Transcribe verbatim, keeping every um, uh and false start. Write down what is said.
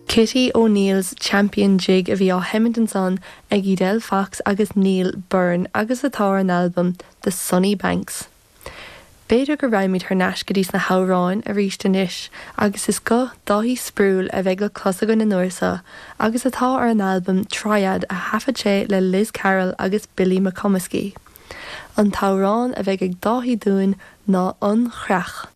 Kitty O'Neill's Champion Jig a bhí á sheinm ansan ag Edel Fox agus Neil Byrne agus atá ar an albam The Sunny Banks. B'fhéidir go raghaimid thar n-ais go dtí na hamhráin arís anois agus is guth Dáithí Sproule a bheidh le clos againn an uair seo agus atá ar an albam Triad a thaifead sé le Liz Carroll agus Billy McComiskey. An t-amhrán a bheidh ag Dáithí dúinn ná An Chreach.